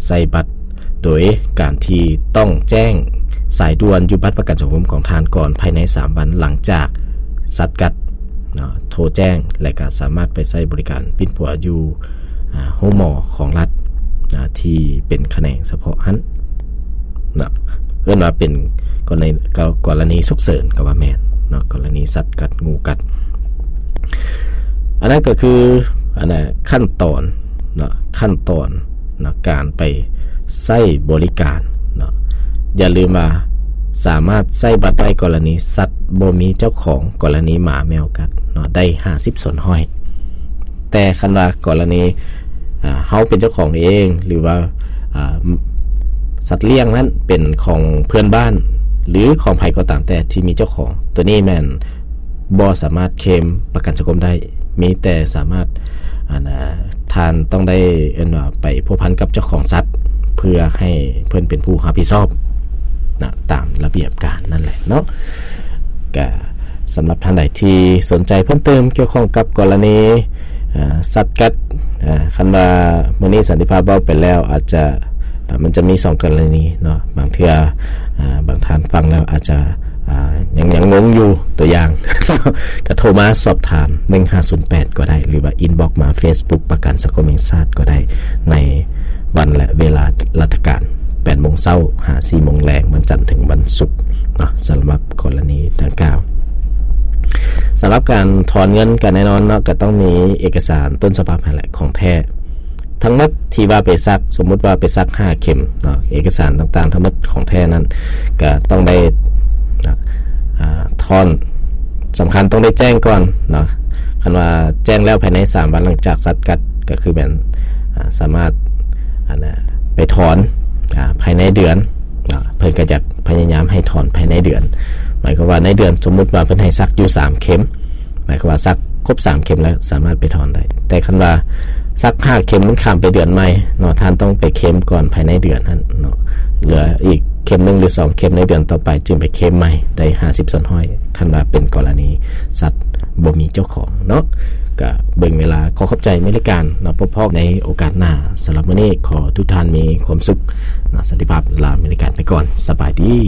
ໃຊ້ບັດ ໂດຍການທີ່ຕ້ອງແຈ້ງສາຍດ່ວນຢູ່ບັດປະກັນສັງຄົມຂອງທ່ານກ່ອນ ພາຍໃນສາມວັນຫຼັງຈາກສັດກັດເນາະ ໂທແຈ້ງ ແລະ ກໍສາມາດໄປໃຊ້ບໍລິການປິ່ນປົວຢູ່ ອາ ໂຮງໝໍຂອງລັດ ອາ ທີ່ເປັນຂະແໜງສະເພາະຫັ້ນເນາະ ເອີ້ນວ່າເປັນກໍໃນ ກໍ ກໍລະນີສຸກເສີນກໍວ່າແມ່ນເນາະ ກໍລະນີສັດກັດ ງູກັດ. ອັນນັ້ນກໍຄື ອັນນ່າ ຂັ້ນຕອນເນາະ ຂັ້ນຕອນເນາະ ການໄປໃຊ້ບໍລິການເນາະ. ຢ່າລືມວ່າສາມາດໃຊ້ບັດໄດ້ກໍລະນີສັດບໍ່ມີເຈົ້າຂອງ, ກໍລະນີໝາແມວກັດເນາະ ໄດ້ຫ້າສິບສ່ວນຮ້ອຍ. ແຕ່ຄັນວ່າກໍລະນີ ອາ ເຮົາເປັນເຈົ້າຂອງເອງ ຫຼືວ່າ ອາ ສັດລ້ຽງນັ້ນເປັນຂອງເພື່ອນບ້ານ ຫຼືຂອງໃຜກໍຕາມແຕ່ທີ່ມີເຈົ້າຂອງ, ໂຕນີ້ແມ່ນບໍ່ສາມາດເຄມປະກັນສັງຄົມໄດ້, ມີແຕ່ສາມາດ ອັນ ອາ ທ່ານຕ້ອງໄດ້ ເອີ້ນວ່າໄປພົວພັນກັບເຈົ້າຂອງສັດ ເພື່ອໃຫ້ເພິ່ນເປັນຜູ້ຮັບຜິດຊອບນະ ຕາມລະບຽບການນັ້ນແຫຼະເນາະ. ກະສຳລັບທ່ານໃດທີ່ສົນໃຈເພີ່ມເຕີມກ່ຽວຂ້ອງກັບກໍລະນີ ອາ ສັດກັດ ອາ ຄັນວ່າມື້ນີ້ສັນຕິພາບເວົ້າໄປແລ້ວ ອາດຈະ ອາ ມັນຈະມີສອງກໍລະນີເນາະ, ບາງເທື່ອ ອາ ບາງທ່ານຟັງແລ້ວອາດຈະ ອາ ຍັງ ຍັງງົງຢູ່. ຕົວຢ່າງ ກໍໂທມາສອບຖາມໜຶ່ງຫ້າສູນແປດກໍໄດ້ ຫຼືວ່າອິນບັອກມາເຟສບຸກປະກັນສັງຄົມແຫ່ງຊາດກໍໄດ້ ໃນວັນ ແລະ ເວລາລັດຖະການ ແປດໂມງເຊົ້າຫາສີ່ໂມງແລງ ວັນຈັນເຖິງວັນສຸກເນາະ. ສຳລັບກໍລະນີດັ່ງກ່າວ ສຳລັບການຖອນເງິນກໍແນ່ນອນເນາະ ກໍຕ້ອງມີເອກະສານຕົ້ນສະບັບຫັ້ນແຫຼະ ຂອງແທ້ທັງໝົດທີ່ວ່າໄປສັກ, ສົມມຸດວ່າໄປສັກຫ້າເຂັມເນາະ, ເອກະສານຕ່າງໆທັງໝົດຂອງແທ້ນັ້ນ ກໍຕ້ອງໄດ້ ອາ ຖອນ ສຳຄັນຕ້ອງໄດ້ແຈ້ງກ່ອນເນາະ. ຄັນວ່າແຈ້ງແລ້ວພາຍໃນສາມວັນຫຼັງຈາກສັດກັດ ກໍຄືແມ່ນ ອາ ສາມາດ ອັນ ໄປຖອນ ອາ ພາຍໃນເດືອນເນາະ, ເພິ່ນກໍຈະພະຍາຍາມໃຫ້ຖອນພາຍໃນເດືອນ. ໝາຍຄວາມວ່າໃນເດືອນ ສົມມຸດວ່າເພິ່ນໃຫ້ສັກຢູ່ສາມເຂັມ, ໝາຍຄວາມວ່າສັກຄົບສາມເຂັມແລ້ວສາມາດໄປຖອນໄດ້. ແຕ່ຄັນວ່າສັກຫ້າເຂັມ ມັນຂ້າມໄປເດືອນໃໝ່ເນາະ, ທ່ານຕ້ອງໄປເຄມກ່ອນພາຍໃນເດືອນຫັ້ນເນາະ, ເຫຼືອອີກເຂັມໜຶ່ງ ຫຼື ສອງເຂັມໃນເດືອນຕໍ່ໄປ ຈຶ່ງໄປເຄມໃໝ່ໄດ້ຫ້າສິບສ່ວນຮ້ອຍ ຄັນວ່າເປັນກໍລະນີສັດບໍ່ມີເຈົ້າຂອງເນາະ. ກະເບິ່ງເວລາ. ຂໍຂອບໃຈເມລິກາເນາະ, ພົບພໍ້ໃນໂອກາດໜ້າ. ສຳລັບມື້ນີ້ຂໍທຸກທ່ານມີຄວາມສຸກເນາະ, ສັນຕິພາບ. ລາເມລິກາໄປກ່ອນ. ສະບາຍດີ.